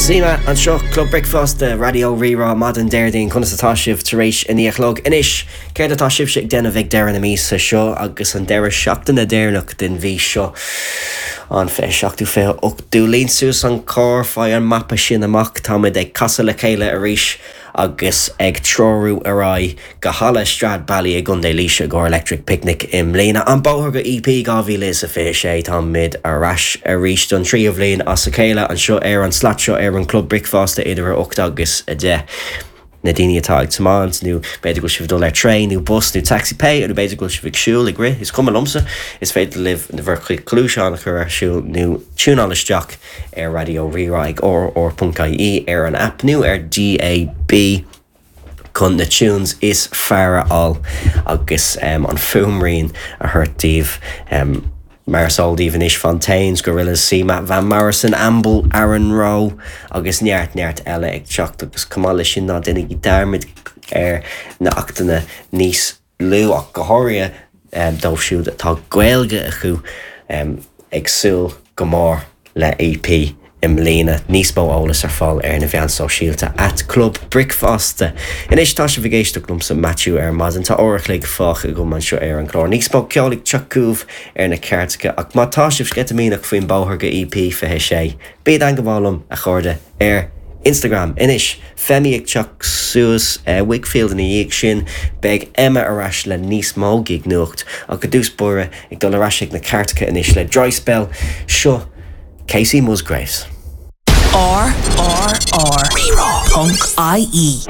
Sima anseo, Club Bricfeasta, Raidió Rí-Rá, maidin Déardaoin, conas atá sibh tar éis a 9 a chlog? Anois, céard atá sibhse ag déanamh ag deireadh na míosa seo agus an deireadh seachtaine deireanach den mhí seo, an 27ú, 28ú? Líon suas an carr, faigh an mapa sin amach, táimid ag casadh le chéile arís agus ag treorú ar aghaidh go Halla Stradbally i gContae Laoise i gcomhair Electric Picnic i mbliana. An Bóthar go EP 2026 Táimid ar ais arís don tríú bhliain as a chéile anseo ar an slat seo ar an Club Bricfeasta idir 8 agus 10. Na daoine atá ag tiomáint nó b'fhéidir go bhfuil sibh ag dul ar traein nó bus nó taxi pé nó b'fhéidir go bhfuil sibh ag siúl, ag rith, is cuma liomsa, is féidir libh bhur gcuid gluaiseán a chur ar siúl nó tiúnáil isteach ar Raidió Rí-Rá ag rr.ie ar an aip nó ar DAB. chun na tunes is fearr a fháil agus an fuaimrian a thabhairt daoibh. Mar is eol daoibh anois, Fontaines, Gorillaz, CMAT, Van Morrison, Amble, Aaron Rowe agus neart neart eile ag teacht agus chomh maith leis sin ná déanaigí dearmad ar na achtanna níos lú ach go háirithe dóibh siúd atá Gaeilge acu ag súil go mór le EP i mbliana. Níos mó eolas ar fáil ar na mheáin sóisialta at Club Bricfeasta. Anois tá sibh ag éisteacht liomsa Maitiú ar maidin. Tá uair a chloig fágtha agam anseo ar an gclár. Níos mó ceoil ag teacht chugaibh ar na cairteacha ach má tá sibh sceitimíneach faoin bóthar go EP 26, bí i dteangmháil liom, a chairde, ar Instagram. Anois, Femi ag teacht suas, Whigfield ina dhiaidh sin, beidh Emma ar ais le níos mó gig nuacht, ach i dtús báire ag dul ar ais ag na cairteacha anois le Dry Spell, seo Kacey Musgraves. R R R Rí-Rá ponc IE.